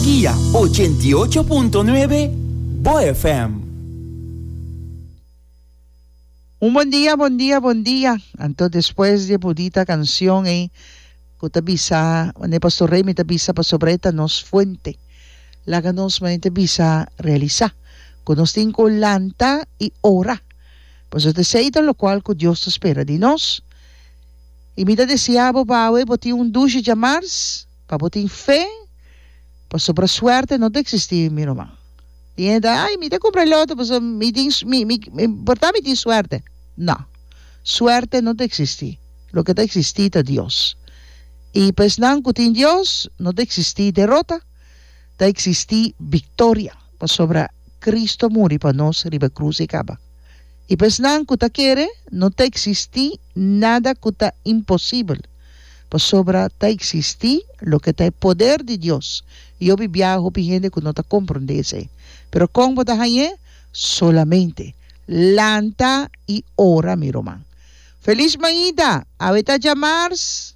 Guia 88.9 Bo FM. Un bon dia, bon dia, bon dia. Anto despues di e bunita cancion ey cu ta bisa, wanneer Pastor Remy ta bisa pasobra e ta nos fuente. Laga nos manera ta bisa realisa cu nos tin cu lanta y ora. Pasobra esey ta locual cu Dios ta spera di nos. Y mi ta desea bo pa awe bo tin un dushi djamars, pa bo tin fe, pasobra suerte no ta existi mi ruman. Tin hende ta, ay mi ta cumpra e loto pasobra mi tin, mi, mi, por ta mi tin suerte. No, suerte no ta existi, loke ta existi ta Dios. Y pa esnan cu tin Dios no ta existi derota, ta existi victoria, pasobra Cristo a muri pa nos riba e cruz y caba. I pa esnan ku ta kere, no ta eksistí nada ku ta imposibel, pasobra ta eksistí loke ta e poder di Dios. I hopi biaha hopi hende ku no ta komprondé esei. Pero kon bo ta hañ'é? Solamente lanta i ora, mi ruman. Felis mainta! Awe ta djamars.